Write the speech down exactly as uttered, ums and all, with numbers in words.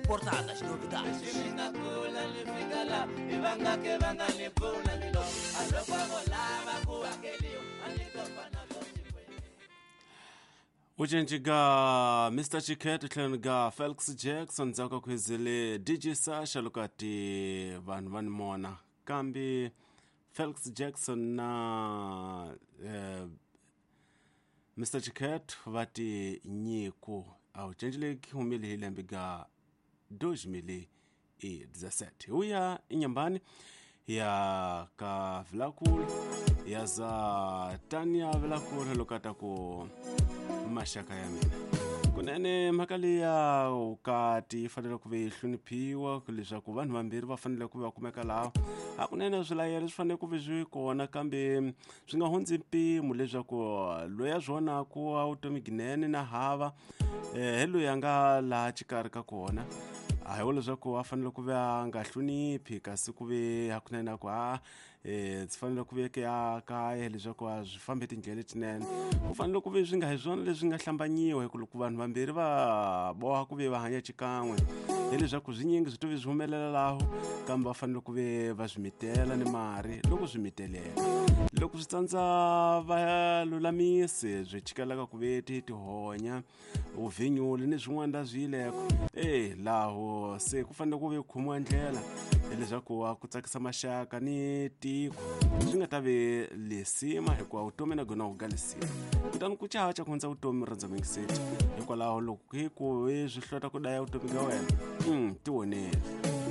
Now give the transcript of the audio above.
Importadas novidades. Ujenji ga Mister Chiket tlhelo ga Felix Jackson ndzhaku ka khwezele D J Sasha lokati vanhu va ni mona kambe Felix Jackson na eh, Mister Chiket va ti nyiko a wu cenji leyi humile hi lembe ga dois mil e dezessete. Uya inyambani ya ka Vilakulu ya za Tania Vilakulu lokata ku maxaka ya mina kunene mhaka leya vukati yi fanele ku ve yi hloniphiwa leswaku vanhu vambirhi va fanele ku va kumeka laha hakunene swilayelo swi fanele ku ve swi kona kambe swi nga hundzi mpimo leswaku loyi a swi vonaku a vutomi ginene na hava hi loyi a nga laha xikarhi ka kona a hi wo leswaku a fanele ku ve a nga hloniphi kasi ku ve hakunene a ku a eh swi fanele ku ve ya kaya leswaku a swi fambi tindlela letinene ku fanele ku ve swi nga hi swona leswi nga hlambanyiwa hi ku loko vanhu vambirhi va boha ku ve va hanya xikan'we hileswaku swinyingi swi to ve swi humelela laho kambe va fanele ku ve va swi mitela ni mari loko swi miteleka loko swi tsandza va lulamise swi chikelaka ku ve ti tihonya uvhinyuli ni swin'wana la swi yileko e laho se ku fanele ku ve khomiwa ndlela leswaku a ku tsakisa maxaka ni tiko swi nga ta ve lesima hikuva vutomi na gona ku ga lesima kutani ku chacha ku hundza vutomi rhandza mingiseti hikwalaho loko hi ku swi hlota ku daya vutomi ka wena mm, ti vonele.